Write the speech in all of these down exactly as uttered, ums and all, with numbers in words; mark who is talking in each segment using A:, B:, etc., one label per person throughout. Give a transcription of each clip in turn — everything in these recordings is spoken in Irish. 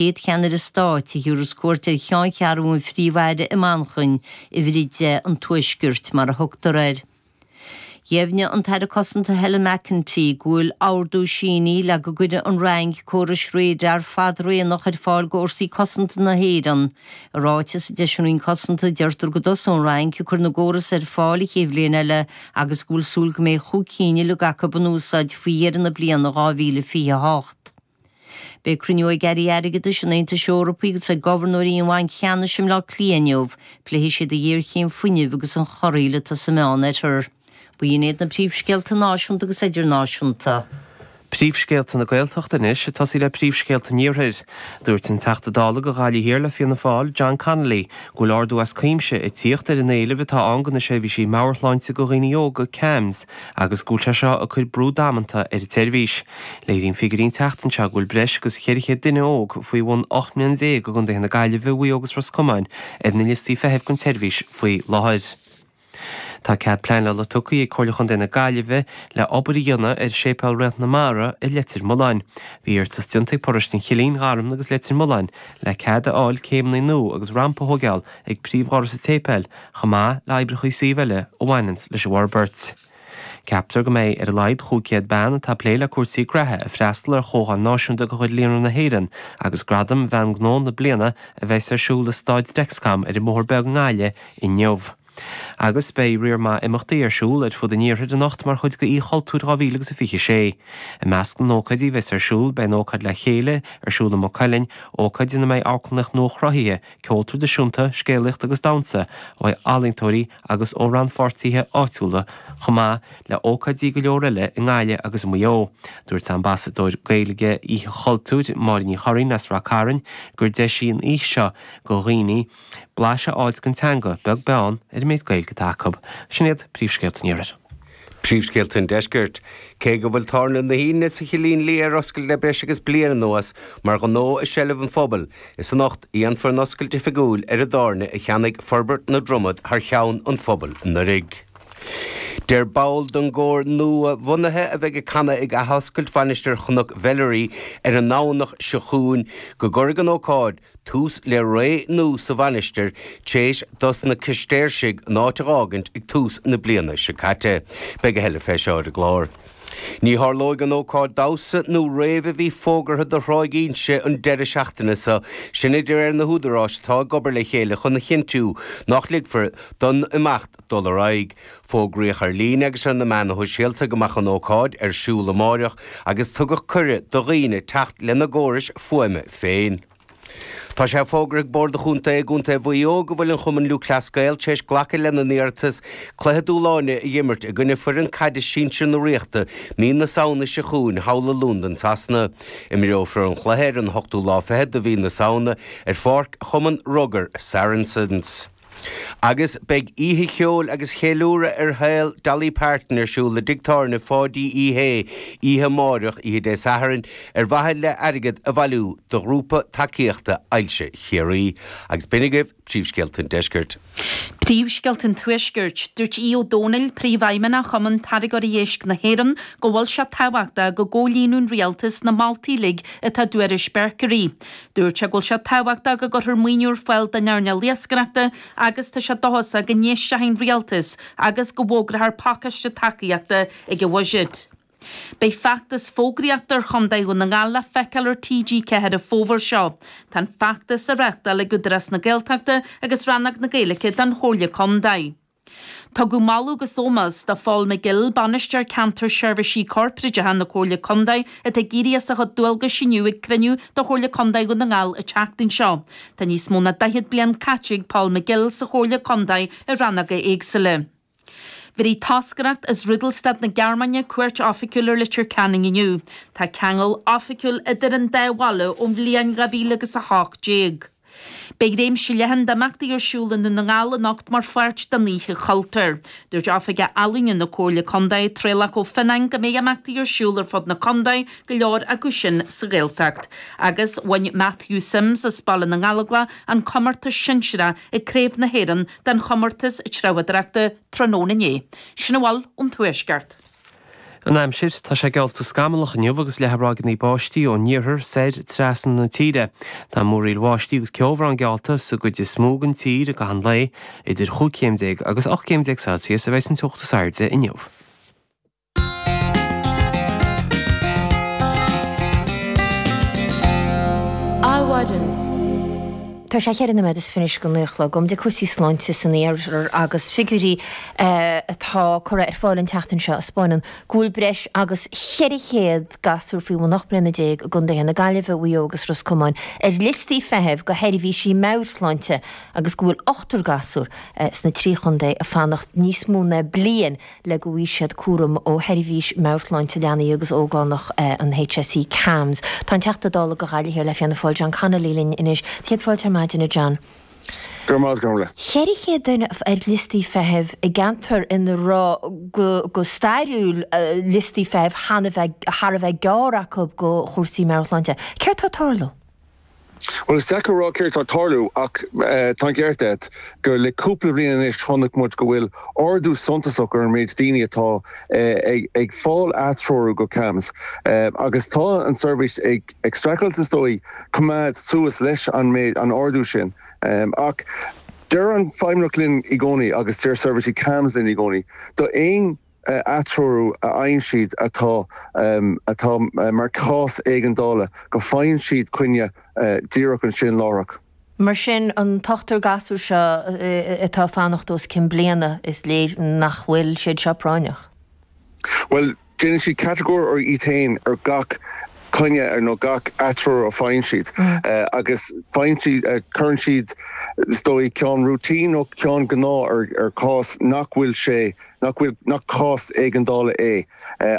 A: chéad cheannaire stáit a thabharfas cuairt ar cheanncheathrú an Phríomh-Aire i Manchain, uimhir a deich an Tuaiscirt mar a thugtar air. Dheimhnigh an tAire Cosanta Helen McEntee go bhfuil ordú sínithe le go gcuirfidh an Fhrainc córais radar fadraonach ar fáil do Fhórsaí Cosanta na hÉireann. I ráiteas a d'eisigh an Roinn Cosanta deirtear go dtosóidh an Fhrainc ag cur na gcóras ar fáil an chéad bhliain eile agus go bhfuil súil go mbeidh chúig cinn uilig acu in úsáid faoi dheireadh na bliana dhá mhíle fiche a hocht. Beidh cruinniú ag Airí Airgeadais an Aontais Eorpaigh agus ag gobharnóirí an Bhainc Cheannais i mBleá Cliath inniu, pléifidh siad an ghéarchéim fuinnimh agus an chorraíl atá sa Meánoirthear. B'in iad na príomhscéalta náisiúnta agus idirnáisiúnta.
B: Príomhscéalta na Gaeltachta anois, ag tosaí le príomhscéalta an Iarthair. Dúirt an Teachta Dála do Ghaillimh Thiar le Fianna Fáil, John Connolly, go bhfuil ardú as cuimse ag tíocht ar an éileamh atá ann do na seirbhísí meabhairshláinte do dhaoine óga, CAMHS, agus go bhfuil sé seo ag cur brú damanta ar an tseirbhís. Léiríonn figiúirí an tseachtain seo go bhfuil breis agus ceithre chéad duine óg faoi bhun ocht mbliana déag i gcontaetha na Gaillimhe, Mhaigh Eo agus Ros Comáin ar na liostaí feithimh don tseirbhís faoi láthair. Tá cead pleanála tugtha ag Comhairle Chontae na Gaillimhe le obair a dhéanamh ar Séipéal Réalt na Mara i Leitir Mealláin. Bhí iarratas déanta ag paróiste an Chillín, Gharmna agus Leitir Mealláin le cead a fháil céimeanna nua agus rampa a thógáil ag príomhdhoras an tséipéil, chomh maith le oibreacha suímh eile a bhaineanns leis an bhforbairt. Ceaptar go mbeidh ar a laghad chúig chéad bean atá ag plé le cúrsaí graithe ag freastal ar chomhdháil náisiúnta de chuid Líonra na hÉireann agus Gradam Bhean Gnó na Bliana a bheas ar siúl i Staid Dexcom ar an mBóthar Beag i nGaillimh inniu. Agus beidh riar maith imeachtaí ar siúl ar fud an iarthair anocht mar chuid de Oíche Chultúir dhá mhíle agus a fiche sé. I measc na n-ócáidí a bheas ar siúl beidh an ócáid Le Chéile ar siúl i Maigh Cuilinn, ócáid ina mbeidh amharclannaíocht nua-chruthaithe, ceol traidisiúnta, scéalaíocht agus damhsa ó ealaíontóirí agus ó rannpháirtithe áitiúla chomh maith le hócáidí go leor eile i nGaillimh agus i Maigh Eo. Dúirt Ambasadóir Gaeilge Oíche Chultúir, Máire Ní Churraoin as Rath Cairn, gur deis í an oíche seo do dhaoine blaiseadh a fháilt den teanga, beag beann ar an méid Gaeilge atá acu. Sin iad príomhscéalta an Iarthair.
C: Príomhscéalta an Deiscirt. Cé go bhfuil Tábhairne na hAoine sa Chillín Liath ar oscailt le breis agus bliain anuas mar ghnó i seilbh an phobail, is anocht a dhéanfar an oscailt oifigiúil ar an dtábhairne a cheannaigh Forbairt na Dromad thar cheann an phobail anuraidh. Deir ball den gcór nua-bhunaithe a bheidh ag canadh ag athoscailt Mhainistir Chnoc Mheilearaí ar an nDomhnach seo chugainn go gcuirfidh an ócáid tús le ré nua sa mhainistir tar éis dos na Cistéirsigh an áit a dh'fhágaint ag tús na bliana seo caite. Beidh a thuilleadh fé seo ar an gclár. Ní tharlóidh an ócáid damhsa nó rave a bhí fógartha do Thráigh Inse an deireadh seachtaine seo, sin de réir na húdaráis atá ag obair le chéile chun a chinntiú nach ligfear don imeacht dul ar aghaidh. Fógraíodh ar líne agus ar na meáin shóisialta go mbeadh an ócáid ar siúl amáireach agus tugadh cuireadh do dhaoine teacht lena gcórais fuaime féin. Tá sé fógartha ag Bord an Chontae i gContae Mhaigh Eo go bhfuil an Chumann Lúthchleas Gael tar éis glacadh lena n-iarratas cluiche dúshláin a imirt i gcoinne foireann caide sinsir na Ríochta mí na Samhna seo chugainn thall i Londain Sasana. Imreofar an cluiche ar an hochtú lá fichead de mhí na Samhna ar pháirc Chumann Rugair Saracens. Agus beidh oíche cheoil agus cheiliúradh ar shaol Dolly Parton ar siúl i dtigh tábhairne Pháidí Uí Shé oíche amárach oíche Dé Sathairn ar mhaithe le airgead a bhailiú do ghrúpa tacaíochta Ailse Chiarraí. Agus b'in agaibh príomhscéalta an Deiscirt.
D: Príomhscéalta an Tuaiscirt, dúirt Aodh Ó Domhnaill, Príomhfheidhmeannach Chumann Táirgeoirí Éisc na hÉireann, go bhfuil sé tábhachtach go gcomhlíonann an rialtas na moltaí uilig atá i dtuairisc Berkery. Dúirt sé go bhfuil sé tábhachtach go gcuirfear maoiniú ar fáil don earnáil iascaireachta agus tá sé dóchasach go n-éistfidh an rialtas agus go bhfógrófar pacáiste tacaíochta ag an bhuiséad. Beidh feachtas fógraíochta ar Chontae Dhún na nGall le feiceáil ar T G ceathair an fómhar seo. Tá an feachtas á reáchtáil ag Údarás na Gaeltachta agus Rannóg na Gaeilge don Chomhairle Contae. Tugadh moladh agus ómós do Phól McGill, Bainisteoir Ceantar Seirbhísí Corparáideacha na Comhairle Contae, atá ag éirí as a chuid dualgais inniu ag cruinniú de Chomhairle Contae Dhún na nGall an tseachtain seo. Tá níos mó ná daichead bliain caite ag Paul McGill sa Chomhairle Contae i rannóga éagsúla. Bhéarfaidh toscaireacht as Rudolstadt na Gearmáine cuairt oifigiúil ar Leitir Ceanainn inniu. Tá ceangal oifigiúil idir an dá bhaile ón bhliain dhá mhíle agus a hocht déag. Beidh réimse leathan d'imeachtaí ar siúl i nDún na nGall anocht mar pháirt den Oíche Chultúir. Dúirt Oifigeach Ealaíne na Comhairle Contae, Traolach Ó Fionnáin, go mbeidh imeachtaí ar siúl ar fud na contae, go leor acu sin sa Ghaeltacht. Agus bhain Matthew Sims as Baile na nGallóglach an comórtas sinsearach ag Craobh na hÉireann den chomórtas treabhdóireachta tráthnóna inné. Sin a bhfuil ón Tuaisceart.
B: An aimsir tá sé geallta scamallach inniu agus leathadh ráigeanna báistí ón iarthar soir trasna na tíre. Tá múraíl bháistí agus ceobhrán geallta sa gcuid is mó den tír i gcaitheamh an lae, idir chúig chéim déag agus ocht gcéim déag Celsius a bheidh an teocht is airde inniu.
E: Adhmhaidin.
A: Tá sé cheithre nóiméad is fiche go naoi a chlog. Gabhfaidh muid ag cúrsaí sláinte san iarthar agus figiúirí atá curtha ar fáil an tseachtain seo a 'spáineann go bhfuil breis agus cheithre chéad gasúr faoi bhun ocht mbliana déag i gcontaetha na Gaillimhe, Mhaigh Eo agus Ros Comáin ar liostaí feithimh go sheirbhísí meabhairshláinte agus go bhfuil ochtar gasúr sna trí chontae ag fanacht níos mó ná bliain le go bhfaighidh siad cúram ó Sheirbhís Meabhairshláinte Leanaí agus Ógánach an HSE, CAMHS. Tá an Teachta Dála do Ghaillimh Thiar le Fianna Fáil, John Connolly linn anois. Céad fáilte ar maidin, a John.
F: Go raibh maith agat.
A: Ceithre chéad duine ar liostaí feithimh i gceantar ina raibh go stairiúil liostaí feithimh thar a bheith gearr acu go chúrsaí meabhairshláinte. Céard tá ag tarlú?
F: Bhuel, is deacair a rá céard tá ag tarlú ach tá an ceart agat gur le cúpla bliain anois chonaic muid go bhfuil ardú suntasach ar an méid daoine atá ag fáil atreorú go CAMHS agus tá an seirbhís ag ag streachailt is dóigh coimeád suas leis an méid an ardú sin. Ach deir an Feidhmeannacht linn i gcónaí agus deir seirbhísí CAMHS linn i gcónaí do aon atreorú a fhaigheann siad atá atá mar chás éigeandála go bhfaigheann siad coinne díreach ansin láithreach.
A: Mar sin, an t-ochtar gasúr seo atá ag fanacht os cionn bliana, is léir nach bhfuil siad seo práinneach.
F: Bhuel, déanann siad catagóir ar iad féin ar gach coinne ar nó gach atreorú a faigheann siad agus faigheann siad, cuireann siad is dóigh ceann routine nó ceann gnáth ar ar chás nach bhfuil sé, nach bhfuil, nach cás éigeandála é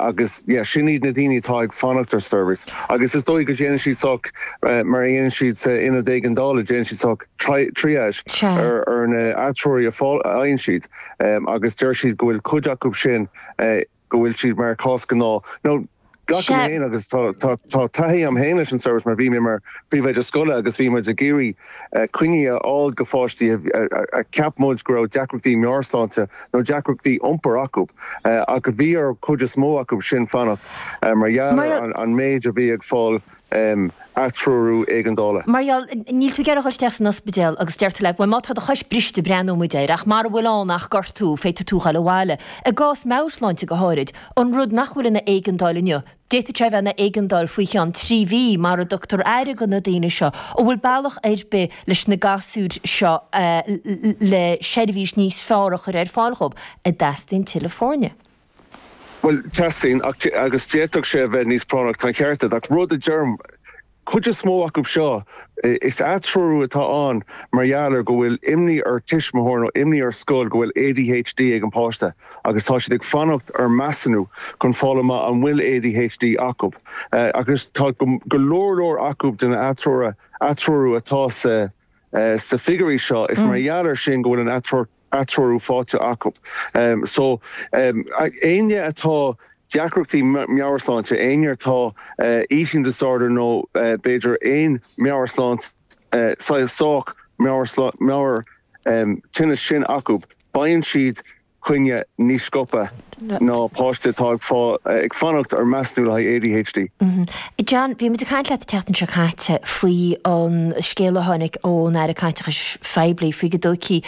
F: agus yeah sin iad na daoine atá ag fanacht ar seirbhís agus is dóigh go déanann siad sách mar a dhéanann siad sa ionad éigeandála, déanann siad sách triage ar ar na atreoruithe a fhaigheann siad agus deir siad go bhfuil cuid acu sin go bhfuil siad mar chás gnáth nó Glacaim féin agus tá taithí agam féin leis an seirbhís mar bhí mé mar phríomhoide scoile agus bhí muid ag iarraidh coinní a fháil go pháistí a cheap muid go raibh deacrachtaí meabhairshláinte nó deacrachtaí iompair acu ach bhí ar chuid is mó acu sin fanacht mar gheall ar an méid a bhí ag fáil atreorú éigeandála.
A: Mar gheall, níl tú ag iarraidh a dhul isteach san ospidéal agus deirtear leat, bhuel má tá do chois briste breathnóidh muid air ach mara bhfuil ann ach gortú, féadfaidh tú dhul abhaile. I gcás meabhairshláinte go háirid, an rud nach bhfuil ina éigeandáil inniu, d'fhéadfadh sé a bheith ina éigeandáil faoi cheann trí mhí mara dtugtar aire do na daoine seo. An bhfuil bealach ar bith leis na gasúir seo le seirbhís níos fearr a chur ar fáil dhóibh? An dteastaíonn tuilleadh foirne?
F: Bhuel, teastaíonn, ach, agus d'fhéadfadh sé a bheith níos práinneach, tá an ceart agat, ach rud a deirim, cuid is mó acu seo, is atreorú atá ann mar gheall ar go bhfuil imní ar tuismitheoir nó imní ar scoil go bhfuil ADHD ag an páiste agus tá siad ag fanacht ar measúnú chun fáil amach an bhfuil ADHD acu. Agus tá go leor leor acu den atreorú atá sa sa figiúirí seo, is mar gheall ar sin go bhfuil an atreorú faighte acu. So, éinne atá deacrachtaí meabhairshláinte, éinne atá eating disorder nó b'fhéidir aon meabhairshláinte, saghas sách meabhair tinneas sin acu, faigheann siad coinne níos sciobtha ná páiste atá ag fanacht ar measúnú le haghaidh ADHD.
A: John, bhí muid ag caint leat an tseachtain seo caite faoi an scéal a tháinig ón Aire Caiteachais Phoiblí faoi go dtógfaí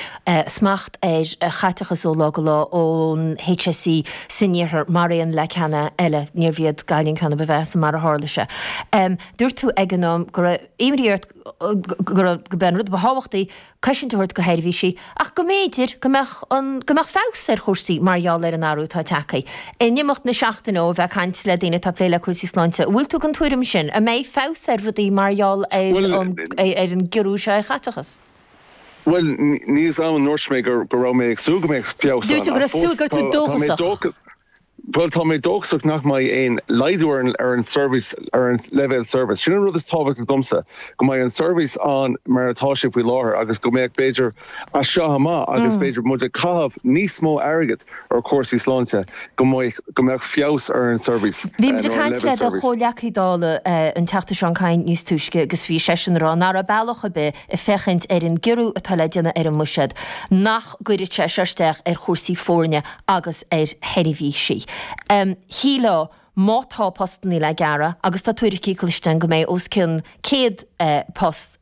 A: smacht ar chaiteachas ó lá go lá ón HSE san iarthar mar aon le ceanna eile, níorbh iad Gaillimh an ceann a ba mheasa mar a tharla sé. Dúirt tú ag an am go raibh imní ort go raibh, go b'é an rud ba thábhachtaí cosaint a thabhairt do sheirbhísí ach go mb'fhéidir go mbeadh an, go mbeadh feabhas ar chúrsaí mar gheall ar an athrú atá tagtha. In imeacht na seachtaine ó bheith ag caint le daoine atá ag plé le cúrsaí sláinte, an bhfuil tú den tuairim sin? An mbeidh feabhas ar rudaí mar gheall ar an, ar an gciorrú seo ar chaiteachas?
F: Bhuel, níl a fhios agam an ndúirt mé go raibh mé ag súil go mbeadh feabhas
A: ann. Dúirt tú go raibh súil, go raibh tú dóchasach.
F: Bhuel, tá mé dóchasach nach mbeidh aon laghdú ar an ar an seirbhís, ar an leibhéal seirbhís. Sin an rud is tábhachtaí domsa, go mbeidh an seirbhís ann mar atá sé faoi láthair agus go mbeadh b'fhéidir as seo amach agus b'fhéidir muid ag caitheamh níos mó airgid ar chúrsaí sláinte, go mbeadh go mbeadh feabhas ar an seirbhís
A: Bhí muid
F: nó
A: ag
F: ar an
A: caint le
F: leibhéal
A: do
F: seirbhís.
A: chomhghleacaí Dála, an Teachta Seán Kyne níos túisce agus bhí seisean ag rá nach raibh bealach ar bith ag féachaint ar an gciorrú atá le déanamh ar an mbuiséad nach gcuirfeadh sé seo isteach ar chúrsaí foirne agus ar sheirbhísí.
G: Um, Shílfeá má tá postanna le gearradh agus tá tuairiscí cloiste go mbeidh os cionn céad uh, post